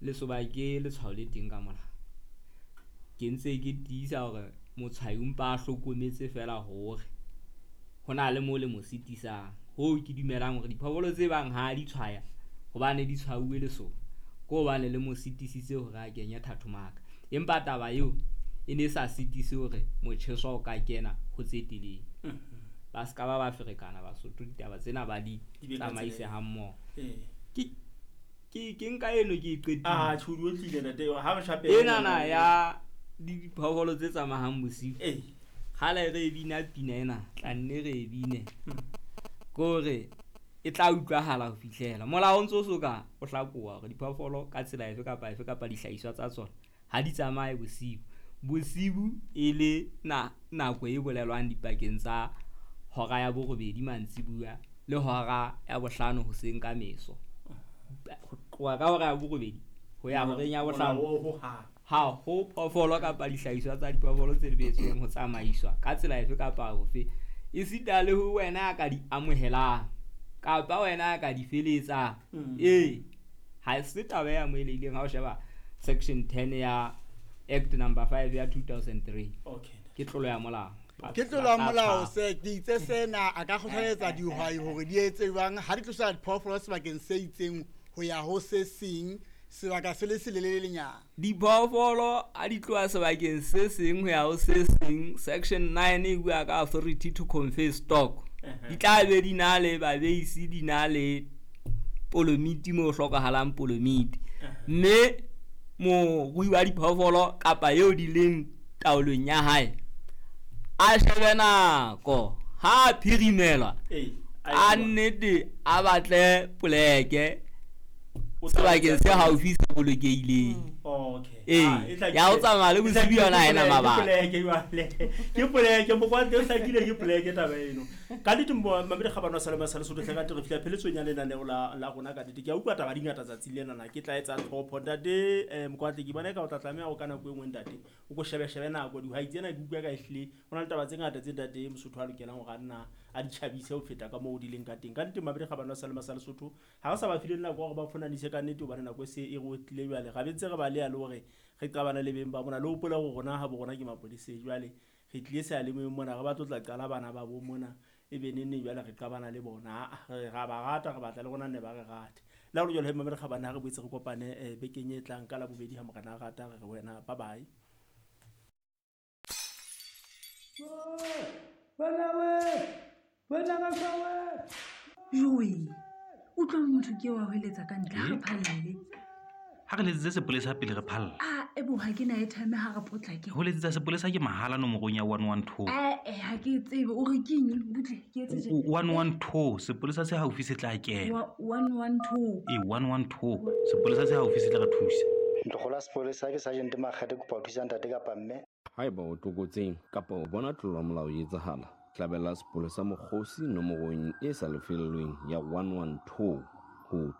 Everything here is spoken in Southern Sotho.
Lesoba ke letshwao le teng ka molao. Ke ntse ke tiisa hore motshwayi o mpa a hlokometse fela hore ho na le mo le mo sitisang. Hoo ke dumelang hore diphoofolo tse bang ha di tshwaya hobane di tshwauwe lesoba, ke hobane le mo sitisitse hore a kenye thathomaka. Empa taba eo e ne sa sitise hore motjheso o ka kena ho tse telele. Ba ska ba ba ferekana Basotho, ditaba tsena ba di tsamaise ha mmoho. Ke nka eno ke e qetile. Ah, tjho di otlile ntate, ha re shape. Enana ya diphoofolo tse tsamayang bosiu. Kgale re bina pina ena, tla nne re bine. Kore e tla utlwahala ho fihlela. Molao o ntso so ka o hlakoha hore diphoofolo ka tsela efe kapa efe kapa dihlahiswa tsa tsona ha di tsamaye bosiu. Bosiu e le nako e bolelwang dipakeng tsa hora ya borobedi mantsibuya le hora ya bohlano hoseng ka meso. Ho tloha ka hora ya borobedi ho ya horeng ya bohlano ha ho phoofolo kapa dihlahiswa tsa diphoofolo tse lebetsweng ho tsamaiswa ka tsela efe kapa ofe, esita le ho wena ya ka di amohelang kapa wena ya ka di feletsang. Ee, ha se taba e amohelehileng ha o sheba section 10 ya Act number 5 ya 2003. Ke tlolo ya molao. Ke tlolo ya molao se ke itse sena a ka kgothaletsa dihwai hore di etse jwang ha di tlosa diphoofolo sebakeng se itseng ho ya ho se seng sebaka se le selelelenyana. Diphoofolo ha di tloha sebakeng se seng ho ya ho se seng, section 9 e bua ka authority to convey stock. Di tla be di na le babeisi, di na le polomiti mo hlokahalang polomiti. Mme morui wa diphoofolo kapa eo di leng taolong ya hae a shebe nako ha phirimelwa a nnete a batle poleke sebakeng se haufi se bolokehileng. Ya ho tsamaya le bosiu yona ha ena mabaka. Ke poleke mokwante o hlakile, ke poleke taba eno. Ka nnete mamedi kgabane wa Salema sa Lesotho hle ka nnete re fihla pheletsong ya lenaneo la rona ka nnete. Ke a utlwa taba di ngata tsatsing lena, ke tla etsa tlhopho ntate Mokwatle, ke bona eka o tla tlameha ho ka nako e nngwe ntate o ko shebe nako. Dihwai tsena ke utlwa ka ehlile ho na le taba tse ngata tse ntate Mosotho a lokelang hore a nna a di tjhabise ho feta ka moo di leng ka teng. Ka nnete mamedi kgabane wa Salema sa Lesotho ha re sa ba file nako ya hore ba fonanise ka nnete, hobane nako e se e re otlile jwale. Ra be ntse re ba leya le hore re qabana le beng ba mona, le hopola hore rona ha bo rona ke mapoleseng jwale. Re tlile seyalemoyeng mona, re batlo tla qala bana ba bo mona, e be neng neng jwale re qabana le bona. Re ra ba rata, re batla le rona nne ba re rate. Le ha ho le jwalo he mamedi kgabane, ha re boetse re kopane bekeng e tlang ka Labobedi ha Morena a rata, re re wena bye bye. Joe, utlwa motho ke wa hweletsa ka ntle, ha re phalle. Ha re letsetse sepolesa pele re phalla. Ah, ebo ha ke na airtime ha re potlake. Ho letsetsa sepolesa ke mahala nomorong ya 112. Ha ke tsebe o re keng, butle ke etse tje. 112, sepolesa se haufi se tla kena. 112. E 112, sepolesa se haufi se tla re thusa. Ntlokgola sepolesa ke Sergeant Makgethe, kopa ho thusa ntate kapa mme. Haeba o tlokotseng kapa o bona tlolo ya molao e etsahala, hlabela sepolesa mokgosi nomorong e sa lefellweng ya 112 ho